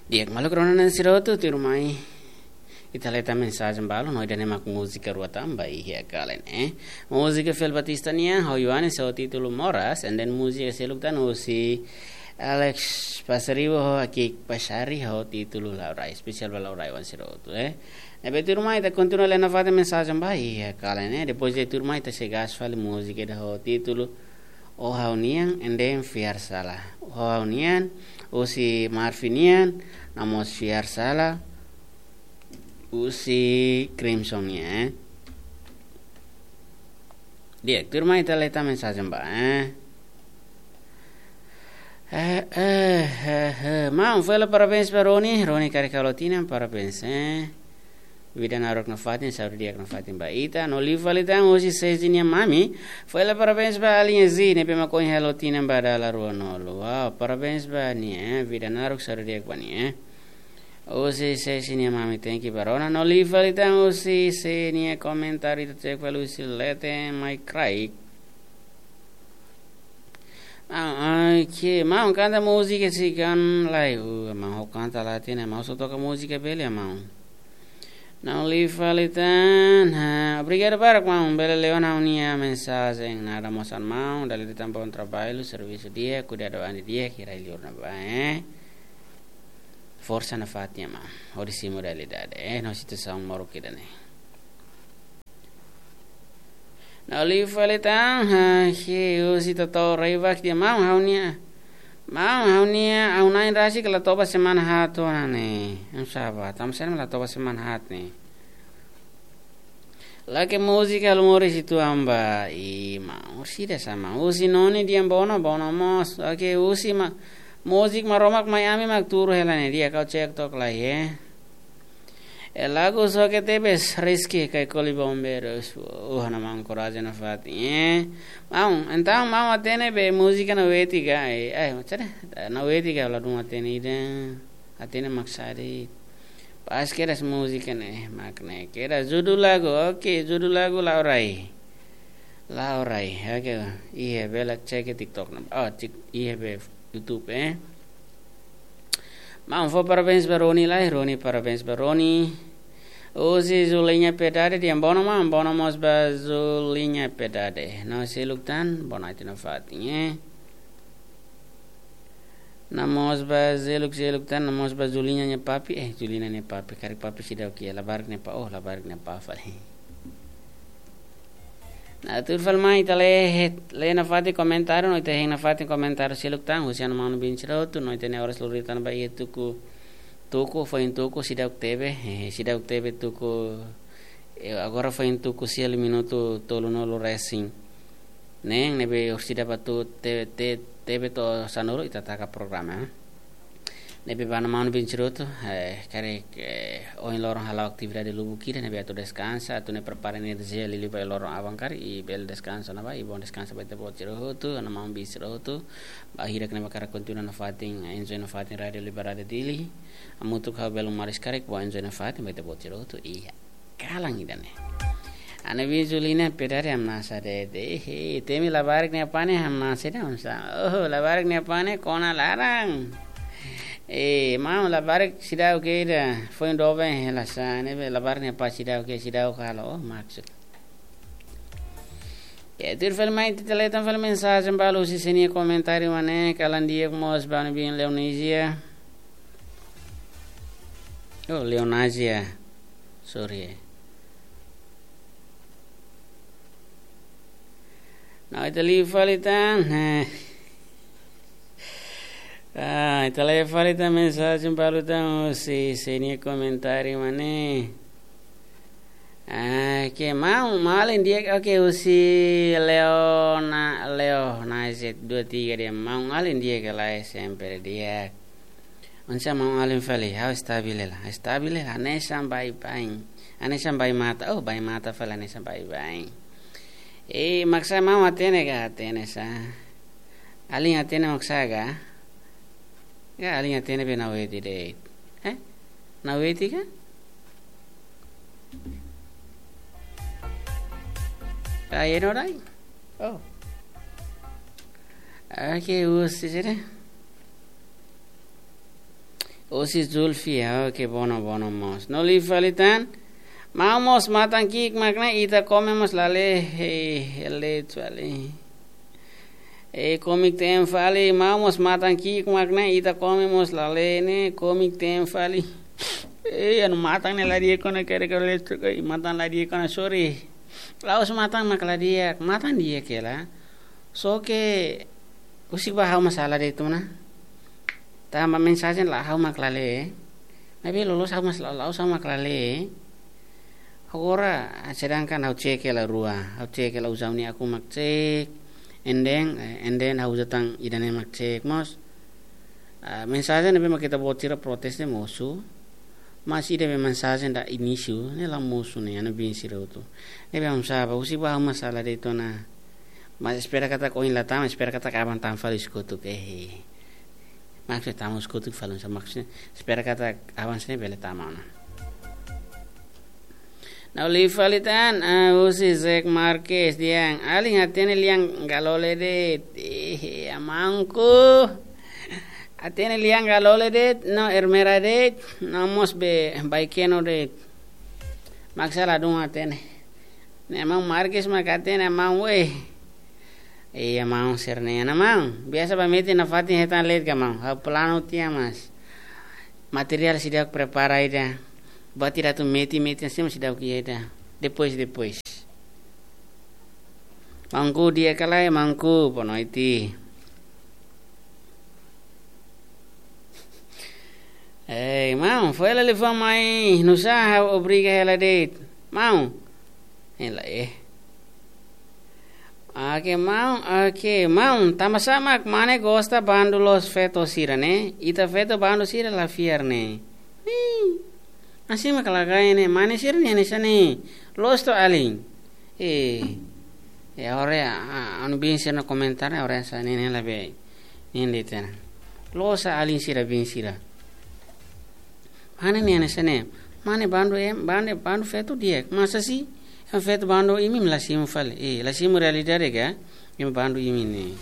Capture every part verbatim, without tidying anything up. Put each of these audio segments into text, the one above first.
Di'ak, maluk rona-na'in sira hotu, tuirmai ita hetan mensajen balu, no ida-ne'e mak múzika rua tan ba iha kalan ne'e. Múzika Fel Batista nian, ho Yohanes, ho títulu Moras, and then múzika seluk tan husi Alex Pasaribu ho Akik Pasari ho títulu Laurai, espesiál ba Laurai-oan sira hotu, eh. Ne'ebé tuirmai ita kontinua lee nafatin mensajen ba iha kalan ne'e, depois de tuirmai ita sei gas fali múzika ida ho títulu Ó Ha'u-nian, and then Fiar Sala. Ó Ha'u-nian, husi Marvin nian, no mós Fiar Sala, husi Crimson nian, eh. Di'ak, tuirmai ita lee tan mensajen ba, eh. Eh, eh, eh, eh. Maun, fó hela parabéns ba Roni. Roni karik halo tinan, parabéns, eh. Vida naruk nafatin, saúde di'ak nafatin ba ita. No liu fali tan husi Sesi nia mami. Fó hela parabéns ba alin Zi, ne'ebé mak ohin halo tinan ba dala ruanulu. Wow, parabéns ba nia, eh. Vida naruk, saúde di'ak ba nia, eh. Husi Sesi nia mami, thank you ba rona. No liu fali tan husi Sesi nia komentáriu, ita cek fali husi Lete Mai Kraik. Ah, ai, ke, maun kanta múzika sira-ne'e lai, uh, maun ha'u kanta la hatene, maun só toka múzika bele, maun. No liu fali tan, ha, obrigadu barak, maun, bele lee ona ha'u-nia mensajen, nada mós, maun, dala ida tan bom trabalho, servisu di'ak, kuidadu an di'ak, kira liur na ba, eh. Forsa nafatin, maun, hodi simu realidade, eh, no situasaun moruk ida-ne'e. No liu fali tan, ha, ke, husi Toto Reivak dehan maun ha'u-nia. Maun ha'u-nia, ha'u-nia na'in rasik la toba semana haat ona ne'e. Em saba, tanba saida mak la toba semana haat ne'e. Lake múzika halo moris uitoan ba, i maun, orsida sama. Husi Noni dehan bono, bono mós. Oke, husi ma, múzika Maromak mai ami mak tuur hela ne'e, di'ak, ha'u cek took lai, eh. E lagu soke tebes, Rizky, Kaikoli Bombeiros. Uh, ha'u-nia maun korajen nafatin, eh. Maun, entaun maun hatene be múzika Naweti ka, eh, eh, maksudnya, Naweti ka ladún hatene ida. Hatene mak saida. Pas kedas múzika ne'e, mak ne'e. Kedas judul lagu, oke, judul lagu Laurai. Laurai, oke. Iha bele cek TikTok ne'e. Oh, tik, iha be YouTube, eh. Maun fó parabéns ba Roni lai, Roni, parabéns ba Roni. Husi Zulinha Piedade dehan bono maun, bono mós ba Zulinha Piedade. No seluk tan, bono ati nafatin, eh. No mós ba seluk, seluk tan, no mós ba Zulinha nia papi, eh, Zulinha nia papi, karik papi seidauk iha, labarik nia pá, oh, labarik nia pá fali. No tuir fali mai ita lee, lee nafatin komentáriu, no ita hein nafatin komentáriu seluk tan, husi ha'u-nia maun-bin sira hotu, no ita-nia oras lori tan ba iha tuku, tuku, foin tuku, seidauk tebe, eh, seidauk tebe tuku, eh, agora foin tuku sia liu minutu tolunulu resin. Neen, ne'ebé orsida ba tuku te, te, tebe to'o sanulu ita taka programa, eh. Ne'ebé ba ha'u-nia maun-bin sira hotu, eh, karik, eh, ohin loron hala'o atividade lubuk ida, ne'ebé atu deskansa, atu nune'e prepara enerjia liuliu ba loron aban karik, i bele deskansa ona ba, i bom deskansa ba ita-boot sira hotu, ha'u-nia maun-bin sira hotu, ba hirak ne'ebé hakarak kontinua nafatin, enjoy nafatin Rádio Liberdade Dili, hamutuk ho belun maris karik, bom enjoy nafatin ba ita-boot sira hotu, iha kalan ida-ne'e. Ha'u-nia bin Zulinha Piedade hamnasa de'it. Eh, eh, temi labarik nia pá ne'e hamnasa de'it, hamnasa. Oh, labarik nia pá ne'e kona laran. Eh, maun, labarik seidauk kedas. Foin doben hela sá, ne'ebé labarik nia pá seidauk kedas, seidauk halo. Oh, maksud. Ya, tuir fali mai ita lee tan fali mensajen balu husi sira-nia komentáriu mak ne'e, kalan di'ak mós ba ha'u-nia bin Leonisia. Oh, Leonasia. Sorry, eh. No, ita lee fali tan. Ah, ita lee fali tan mensajen balu tan husi sira-nia komentáriu mak ne'e. Ah, ke maun, maun alin di'ak, oke, husi Leona, Leo, na Z dua tiga dehan maun alin di'ak ka lae, sempre di'ak. Oinsá maun alin fali, ha'u estabil hela, estabil hela, hanesan baibain. Hanesan bai mata, oh, bai mata fali, hanesan baibain. Eh, mak sá maun hatene ka, hatene sá. Alin hatene mak sá ka? Ka alin hatene be Naweti de'it. Eh? Naweti ka? Ai, no dai. Oh. Oke, husi sira. Husi Zulfi, ah, oke, bono, bono mós. No liu fali tan, maun mós matan ki'ik mak ne'e, ita kome mós la lee, hei, hei, lee fali. Eh, komik ten fali, maun mós matan ki'ik mak ne'e, ita kome mós la lee ne'e, komik ten fali. Eh, anu matan ne'e la di'ak ona kere kere letuk, eh, matan la di'ak ona, sorry. La'ós matan mak la di'ak, matan di'ak hela. Só ke, husik ba ha'u mak sala de'it ona. Tanba mensajen la ha'u mak la lee. Maibé loloos ha'u mak la, la'ós ha'u mak la lee. Agora, sedangkan ha'u cek hela rua, ha'u cek hela uza ha'u-nia akun mak cek, and then, eh, and then ha'u uza tan ida-ne'e mak cek mós. Ah, mensajen ne'ebé mak ita-boot sira protes ne'e mosu, mas ida-ne'ebé mensajen da inísiu ne'e la mosu ne'e, anu bin sira hotu. Ne'ebé hamsa ba, husik ba ha'u mak sala de'it ona. Mas espera katak oin la tama, espera katak aban tama fali husi kotuk, eh. Maksud tama husi kotuk fali, maksud espera katak aban sira bele tama ona. No liu fali tan, ah, husi Zek Marques dehan, alin hatene lian Galole de'it, eh, amanku. Hatene lian Galole de'it, no Ermera de'it, no mós be Baikeno de'it. Mak sala dun hatene. Ne'e maun Marques mak hatene maun we. Iya maun sira-ne'e, ana maun. Biasa ba metin nafatin hetan leet ka maun. Ha'u planu tiha mas. Materiál seidauk prepara ida. Buat ida atu metin, metin seidauk iha ida. Depois, depois. Maunku di'ak ka lae, maunku, boa noite. Eh, maun, foin hela liafuan mai, nusá ha'u obriga hela de'it. Maun. Hela, eh. Oke, maun, oke, maun, tanbasá mak mane gosta bandu loos feto sira ne'e? Ita feto bandu sira la fiar ne'e. Ih, hanesan mak la kaer ne'e, mane sira-nia hanesan ne'e. Loos to'o alin. Eh, eh, agora, ah, anu bin sira-nia komentáriu, agora hanesan ne'e, ne'e la be. Ne'e de'it ona. Loos alin sira bin sira. Mane nia hanesan ne'e. Mane bandu ema, bandu, bandu feto di'ak. Masa si? Ema feto bandu imi la simu fali. Eh, la simu realidade ka? Ema bandu imi ne'e.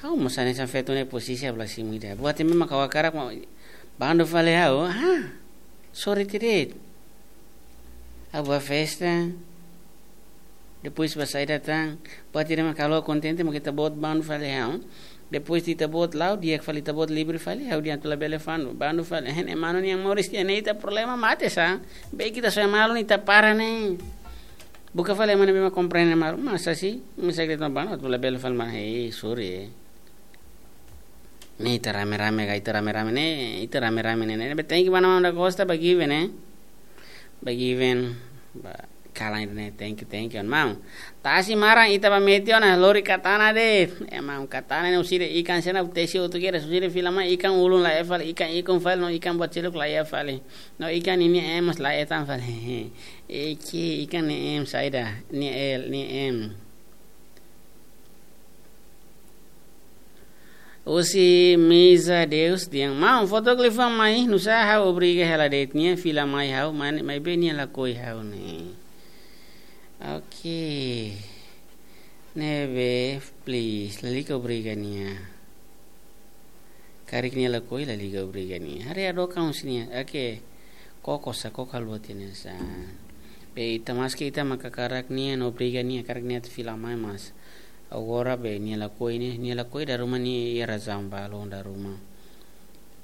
Ha'u mós hanesan feto ne'e posisi ha'u la simu ida. Buat imi mak ha'u hakarak mak bandu fali ha'u. Ha? Sorry tiha de'it. Ha'u ba festa. Depois ba saida tan, buat ida mak halo kontente mak ita-boot bandu fali ha'u. Depois ita-boot la'o, di'ak fali ita-boot livre fali, ha'u dehan atu labele bandu, bandu fali. Hein, ema nian moris tiha ne'e ita problema mate sa. Be ita só malu ne'e ita para ne'e. Buka fali ema ne'ebé mak komprende malu, masa si, masa ita bandu, atu labele fali mana, hei, sorry, eh. Ne'e ita rame-rame ka, ita rame-rame ne'e, ita rame-rame ne'e, ne'e, be thank you ba maun da Costa, ba Given, eh. Ba Given, ba kalan ne'e, thank you, thank you, maun. Tasi maran ita ba metin ona, lori katana de'it. Eh, maun, katana ne'e husi ida ikan sira-ne'e, tesi hotu kedas, husi ida fila mai ikan ulun la iha fali, ikan ikun fali, no ikan buat seluk la iha fali. No ikan ne'e nia ema la hetan fali. Eki, ikan ne'e ema saida, nia el, nia ema. Husi Misa Deus dehan, maun, foto liafuan mai, nusá ha'u obriga hela de'it, nia fila mai ha'u, mai, maibé nia lakohi ha'u ne'e. Oke. Ne'ebé, please, lalika obriga nia. Karik nia lakohi, lalika obriga nia. Haree hadook husi nia, oke. Koko sa, koko haluha tiha ne'e sa. Be ita maski ita mak hakarak nia, no obriga nia, hakarak nia atu fila mai mas. Agora be nia lakohi ne'e, nia lakohi dala ruma nia iha razaun balu dala ruma.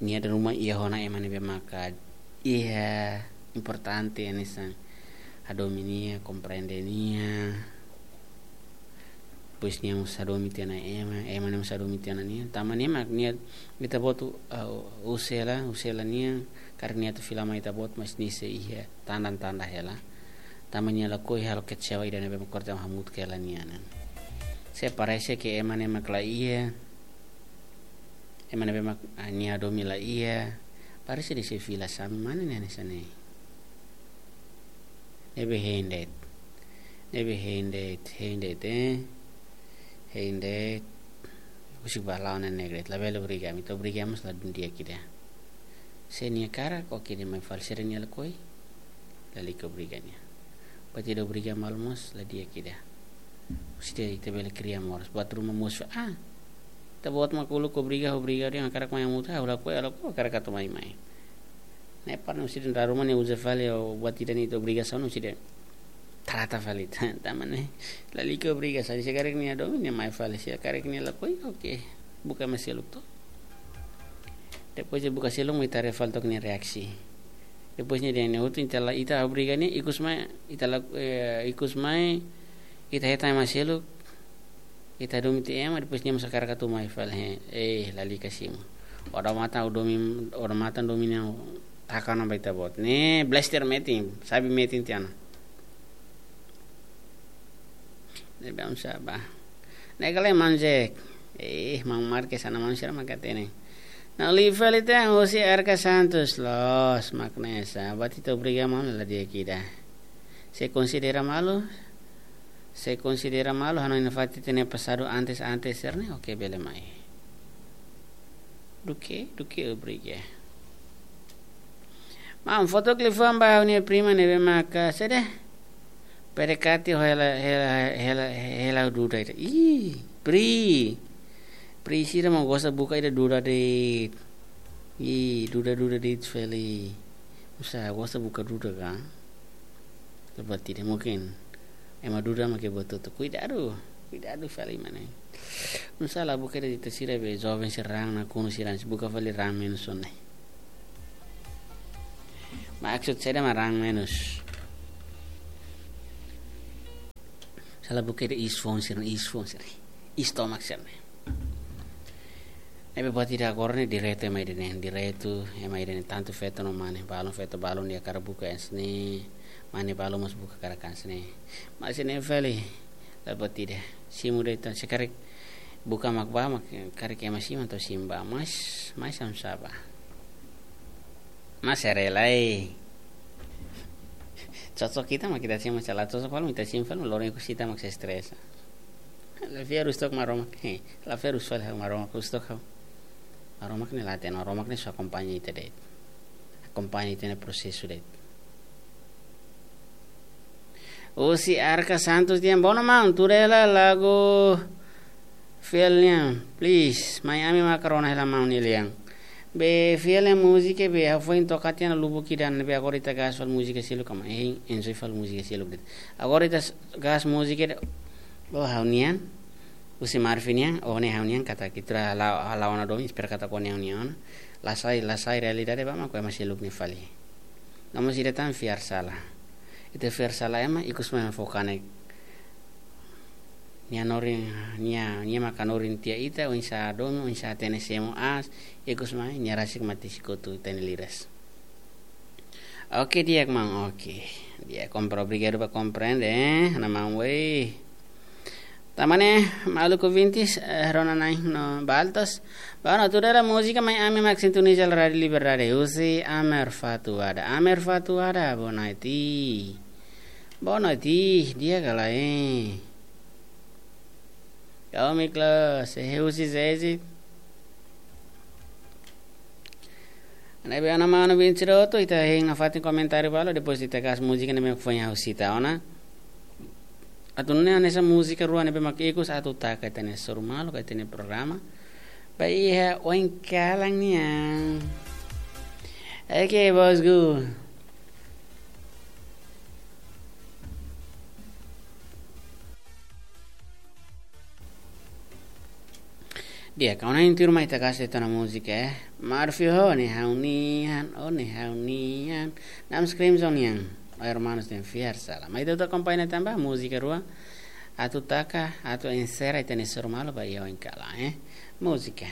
Nia dala ruma iha ona ema ne'ebé maka iha importante hanesan hadomi nia, komprende nia. Depois nia mós hadomi tiha ona ema, ema ne'e mós hadomi tiha ona nia. Tanba ne'e mak nia ita-boot, ah, husu hela, husu hela nia, karik nia atu fila mai ita-boot mas nia sei iha tanda-tanda hela. Tanba nia lakohi halo kecewa ida ne'ebé mak korte hamutuk hela nia ne'e. Se parese ke ema ne'e mak la iha, ema ne'ebé mak, ah, nia hadomi la iha, parese nia sei fila sami, mane nia hanesan ne'e. Ne'ebé hein de'it. Ne'ebé hein de'it, hein de'it, eh. Hein de'it. Husik ba la'o ne'e ne'e de'it, labele obriga, ami atu obriga mós la dun di'ak ida. Se nia hakarak, oke, nia mai fali, se nia lakohi, lalika obriga nia. Buat ida obriga malu mós, la di'ak ida. Husi ida ita bele kria moras. Buat ruma mós, ah, ita-boot mak uluk obriga, obriga, dehan hakarak mai hamutuk, ha'u lakohi, ha'u lakohi, hakarak atu mai, mai. Ne'e para no siden raruma ne'e uza fali, o buat ida-ne'e ita obrigasaun no siden trata fali. Tanba ne'e lalika obrigasaun, se karik nia domin nia mai fali, se karik nia lakohi, oke. Buka ema seluk to. Depois de buka seluk, ita haree fali took nia reaksi. Depois nia dehan ne'e hotu ita la, ita obriga nia, ikus mai, ita la, eh, ikus mai, ita hetan ema seluk, ita domin tiha ema, depois nia mós hakarak atu mai fali, he, eh, lalika simu. Odamatan domin, odamatan domin nia taka ona ba ita-boot. Ne'e blaster metin, sabi metin tiha ona. Ne'ebé oinsá bá. Ne'e kala maun Jack. Eh, maun Marques, ana maun sira mak hatene. Ne'e liu fali tan husi Arca Santos, loos, mak ne'e sá. Buat ita obriga maun la di'ak ida. Se konsidera malu, se konsidera malu, hanoin nafatin ita-nia pasadu antes, antes sira-ne'e, oke, bele mai. Duké, duké obriga. Maun, foto klip fó ba ha'u-nia prima ne'ebé maka, saida? P D K T ho hela, hela, hela, hela duda ida. Ih, Pri. Pri sira mak gosta buka ida duda de'it. Ih, duda, duda de'it fali. Oinsá gosta buka duda ka? Lepas tidak mungkin. Ema duda mak buat hotu. Kuidadu, kuidadu fali mana. Oinsá la buka ida ita sira be joven sira raan nakonu sira, buka fali raan menus ona. Maksud saida mak raan menus? Oinsá la buka ida iis foun sira, iis foun sira. Iis tomak sira. Ne'ebé buat ida agora ne'e direitu ema ida-ne'e, direitu ema ida-ne'e tantu feto no mane, balun feto balun nia hakarak buka hanesan ne'e, mane balun mós buka hakarak hanesan ne'e. Mas ne'e fali, la buat ida. Simu de'it, se karik buka mak bá, mak karik ema simu entaun simu bá, mas, mas oinsá bá. Mas sira rela, eh. Cocok ita mak ita simu, se la cocok fali ita simu fali, loron ikus ita mak sei estresa. La fiar husi took Maromak, he. La fiar husi fali Maromak, husi took ha'u. Maromak ne'e la hatene, Maromak ne'e só akompaña ita de'it. Akompaña ita-nia prosesu de'it. Husi Arca Santos dehan, "Bom, maun, tuda hela lagu Fiel nian, please. Mai ami maka rona hela maun nia lian." Be Fiel nia múzika be ha'u foin toka tiha ona lubuk ida ne'ebé agora ita gas fali múzika seluk ka mai. Hein, enjoy fali múzika seluk de'it. Agora ita s-, gas múzika de'it. Bo ha'u-nian, husi Marvin nian, o ne'e ha'u-nian katak ita la, la ona domin, espera katak o ne'e ha'u-nian ona. La sai, la sai realidade ba mak ema seluk nia fali. No mós ida tan fiar sala. Ita fiar sala ema, ikus mai foka ne'e. Nia hanorin, nia, nia mak hanorin tiha ita, oinsá domin, oinsá hatene semo aas, ikus mai, nia rasik mate sikotu ita-nia liras. Oke, di'ak maun, oke. Di'ak, kompre-, obrigadu ba komprende, eh, ha'u-nia maun, wei. Tanba ne'e, maluk ouvintes, eh, rona-na'in no baltos. Bom, tuda hela múzika mai ami mak sintoniza Rádiu Liberdade. Husi Amer Fatuada. Amer Fatuada, boa noite. Boa noite, di'ak ka lae? Kau Miklos, eh, husi Zezit. Ne'ebé ana manu bin siroto, ita hein nafatin komentáriu balu, depois ita gas múzika ne'ebé foin ha'u sita ona. Atu nune'e hanesan múzika rua ne'ebé mak ikus atu taka ita-nia soru malu, ka ita-nia programa. Ba iha oin kalan nian. Oke, bosku. Di'ak, kau na intir mai ita gas de'it ona múzika, eh. Marfi ho, ne'e ha'u-nian, o ne'e ha'u-nian. Namskrim zonian, o hermanos den fiar sala. Mai ita akompaña tanba múzika rua. Atu taka, atu enserra ita-nia soru malu ba iha oin kalan, eh. Múzika.